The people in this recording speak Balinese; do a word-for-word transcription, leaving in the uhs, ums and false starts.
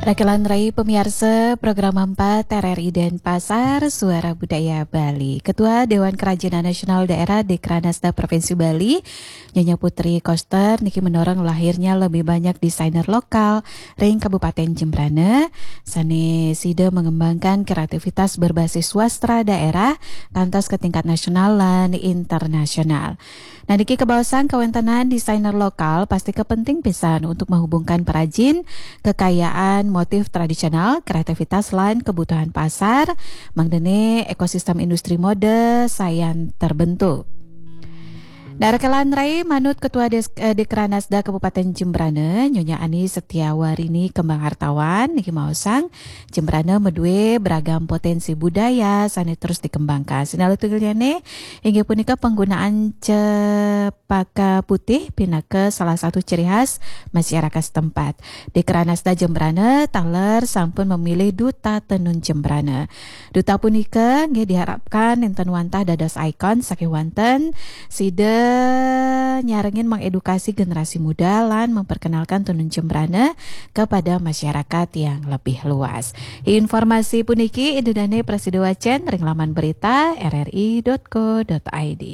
Rakelan Rai pemirsa program empat R R I Denpasar, Suara Budaya Bali. Ketua Dewan Kerajinan Nasional Daerah Dekranasda Provinsi Bali, Nyonya Putri Koster, niki mendorong lahirnya lebih banyak desainer lokal ring Kabupaten Jembrana, sane sida mengembangkan kreativitas berbasis swastra daerah, kantos ke tingkat nasional lan internasional. Nah, niki kabaosang kawentenan desainer lokal pasti kepenting pisan untuk menghubungkan perajin, kekayaan motif tradisional, kreativitas, lan kebutuhan pasar, mangdene ekosistem industri mode sayan terbentuk. Nah, Rakelan Rai, manut Ketua Des, eh, Dekranasda Kabupaten Jembrana, Nyonya Ani Setiawarini Kembang Hartawan, niki maosang, Jembrana medue beragam potensi budaya sane terus dikembangkan. Sinalih tunggilnyane inggih punika penggunaan cempaka putih pinaka salah satu ciri khas masyarakat setempat. Dekranasda Jembrana taler sampun memilih Duta Tenun Jembrana. Duta punika nggih diharapkan nenten wantah dados ikon saking wanten sida nyarengin mengedukasi generasi muda lan memperkenalkan tenun Jembrana kepada masyarakat yang lebih luas. Informasi puniki indedane prasida wacen ring laman berita R R I dot co dot I D.